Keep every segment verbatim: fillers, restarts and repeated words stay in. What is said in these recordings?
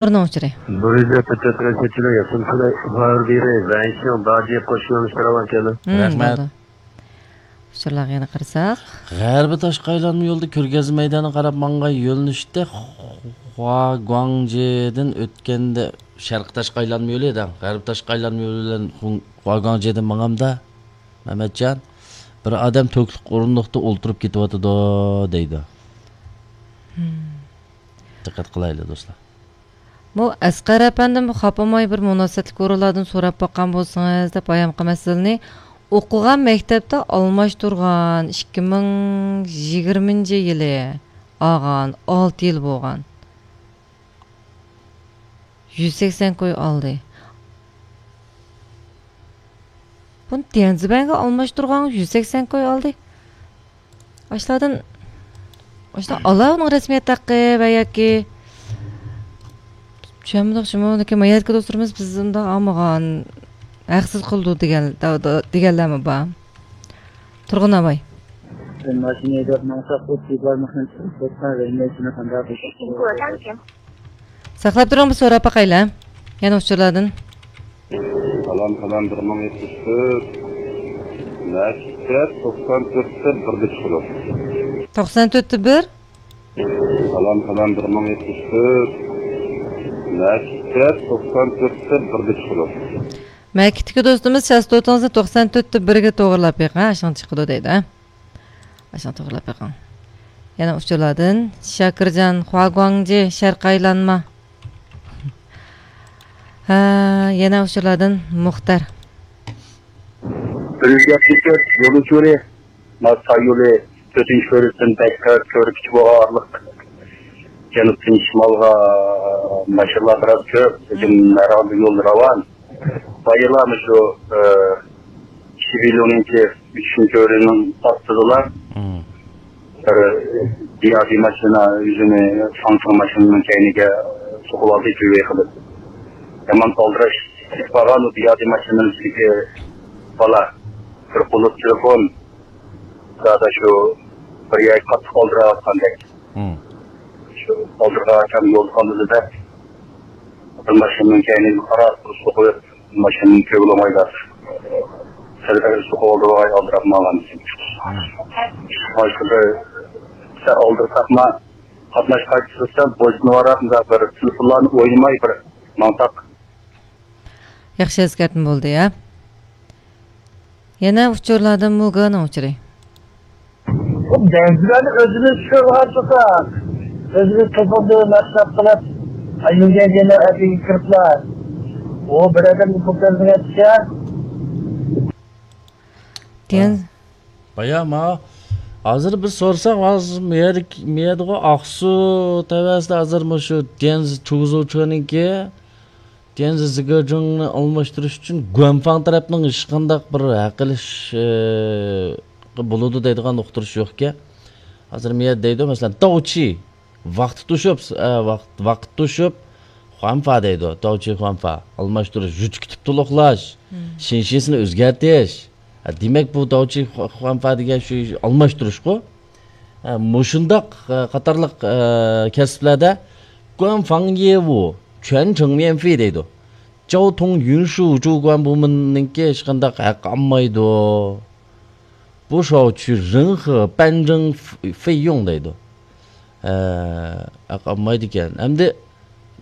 بىرنىڭ ئۇچۇرى. بۇرۇجدا تۆتىدە تۆت رەسىدچىلەر ياسىمسىلەر ۋاربىرى ۋەنشىڭ داجى قوشۇنلىرىنى چىقىرىۋەتكەندۇ. ھىم، رەھمەت. بولدى. ئۇچۇرلارغا يەنە قارىساق. غەربىي تاشقى ئايلانما يولدا كۆرگەزمە مەيدانىغا قاراپ ماڭغان يۆنىلىشتە خۇاگۇاڭجېدىن ئۆتكەندە، شەرقىي تاشقى ئايلانما يولى دەڭ. غەربىي تاشقى ئايلانما يولى بىلەن خۇ-، خۇاگۇاڭجېدىن ماڭامدا، مەمەتجان، بىر ئادەم تۆكلۈك ئورۇندۇقتا ئولتۇرۇپ كېتىۋاتىدۇ دەيدۇ. ھىم. دىققەت قىلايلى، دوستلار. بۇ ئەسقەر ئەپەندىم خاپىماي بىر مۇناسىۋەتلىك ئورۇنلاردىن سوراپ باققان بولسىڭىز دەپ بايامقى مەسىلىنى ئوقۇغان مەكتەپتە ئالماشتۇرغان، ئىككى مىڭ يىگىرمىنچى يىلى ئالغان، ئالتە يىل بولغان. يۈز سەكسەن كوي ئالدى. بۇنى ديەنزىبەنگە ئالماشتۇرغان، يۈز سەكسەن كوي ئالدى. ئاشۇلاردىن، ئاشۇلار ئالا ئۇنىڭ رەسمىيەت ھەققى ۋە ياكى چۈشەنمىدۇق شۇمۇ، لېكىن ما يەردىكى دوستلىرىمىز بىز ئۇنداق ئالمىغان، ھەقسىز قىلدۇق دېگەن، دە-، دە-، دېگەنلەرمۇ بار. تۇرغۇن ئاباي. ماشىنا ھەيدەپ ماڭساق، ئۇ تېزلارمۇ قانچە بولسا، ۋەلمەيسىنى قانداق قىلساق. ساقلاپ تۇرۇڭ، بىر سوراپ باقايلى. يەنە ئۇچۇرلاردىن. سالام، سالام، بىر مىڭ يەتمىش تۆت، مەكىتتە توقسان تۆتتە بىردە چىقىدۇ. توقسان تۆتتە بىر؟ سالام، سالام، بىر مىڭ يەتمىش تۆت، مەكىتتە توقسان تۆتتە بىردە چىقىدۇ. مەكىتتىكى دوستىمىز چاستوتىڭىزنى توقسان تۆتتە بىرگە توغرىلاپ بېقىڭ، ئاشۇڭ چىقىدۇ دەيدۇ، ھە؟ ئاشۇڭ توغرىلاپ بېقىڭ. يەنە ئۇچۇرلاردىن شاكىرجان، خۇاگۇاڭجى، شەرقىي ئايلانما. ھە، يەنە ئۇچۇرلاردىن مۇختەر. بىر يۈز يەتمىش تۆت يول ئۇچۇرى، ماس تاي يولى، تۆتىنچى كۆۋرۈكتىن بەكرەك كۆۋرۈككىچە بولغان ئارىلىق. جەنۇبتىن شىمالغا ماشىنىلار بىراز كۆپ، لېكىن ھەر ھالدا يول راۋان. بايىلا مۇشۇ، ئە، شىبىلۇنىڭكى ئۈچىنچى كۆۋرۈكنىڭ ئاستىدىلا. مم. بىر بىيادى ماشىنا ئۆزىنى فاڭفېڭ ماشىنىنىڭ كەينىگە سوقۇۋالدى، جۈۋەي قىلىپ. يامان ئالدىراش كېتىپ قالغان ئۇ بىيادى ماشىنىنىڭ ئىچىدىكى بالا. بىر قۇلۇپ تېلېفون، زادى شۇ بىر يەرگە قاتتىق ئالدىراۋاتقاندەك. مم. شۇ ئالدىرىغان ئاكام يولدا قالمىدى دەپ، بىر ماشىنىنىڭ كەينىگە قاراپ سوقۇپ، ماشىنىنى كۆرگىلى بولمايدۇ. سەل سوقۇۋالدى، ۋاي، ئالدىراپ ماڭغان. مم. باشقىدا سەل ئالدىرىساقما، قاتناش قايتىسىدا بويسۇنۇۋاراپ، مۇنداق بىر تېلېفونلارنى ئوينىماي بىر ماڭساق. ياخشى ئەسكەرتمە بولدى، ھە؟ يەنە ئۇچۇرلاردىن مۇگېنىڭ ئۇچۇرى. بۇ بەزىلەرنى ئۆزىمىز چۈشۈرۈۋاتساق، ئۆزىمىز توپىدا مەسرەپ قىلىپ، يۈرگەن يەرلەر ئەتىگە كىرىپلا، ئۇ بىر ئادەمگە پۇل تۆلىمىگەنچە. دېگەن. بايا ما، ھازىر بىز سورىساق، ھازىر مۇيەردىكى، مۇيەردىغۇ ئاقسۇ تەۋەسىدە ھازىر مۇشۇ ديەنز چۇگزۇچۇنىڭكى، ديەنز زىگېجىڭنى ئالماشتۇرۇش ئۈچۈن گۇەنفاڭ تەرەپنىڭ ھېچقانداق بىر ھەق ئېلىش، ئى، بولىدۇ دەيدىغان ئۇقتۇرۇش يوقكەن. ھازىر مۇيەردە دەيدۇ، مەسىلەن، داۋچى. ۋاقتى توشۇپ، ئە، ۋاقىت، ۋاقىت توشۇپ، خۇەنفا دەيدۇ، داۋچى خۇەنفا، ئالماشتۇرۇش، يۈچ كۈتۈپ تولۇقلاش، مم. شىنشىسىنى ئۆزگەرتىش. ھە، دېمەك، بۇ داۋچى خۇ-، خۇەنفا دېگەن شۇ ئالماشتۇرۇشقۇ. ھە، مۇشۇنداق، ئە، قاتارلىق، ئە، كەسىپلەردە گۇەنفاڭ يېۋۇ، چۈەن چېڭ ميەنفى دەيدۇ. جاۋ تۇڭ يۈنشۇ جۇ گۇەن بۇمىننىڭكى ھېچقانداق ھەق ئالمايدۇ. بۇ شاۋچۈ رېڭخې بەنجېڭ فېييۇڭ دەيدۇ. ھە، ھەق ئالمايدىكەن. ئەمدى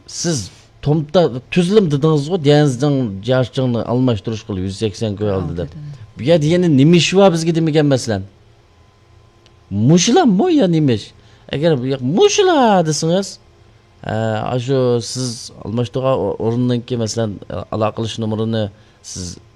سىز تومتا تۈزلۈم دېدىڭىزغۇ، ديەنزىڭ جياچىڭنى ئالماشتۇرۇش قىلىپ يۈز سەكسەن كوي ئالدى دەپ. بۇ يەردە يەنە نېمە ئىش بار بىزگە دېمىگەن مەسىلەن. مۇشۇلاممۇ يا نېمە ئىش؟ ئەگەر بۇ ياق مۇشۇلا دېسىڭىز، ئە، ئاشۇ سىز ئالماشتۇرغان ئو-، ئورۇننىڭكى، مەسىلەن، ئالاقىلىشىش نومۇرىنى سىز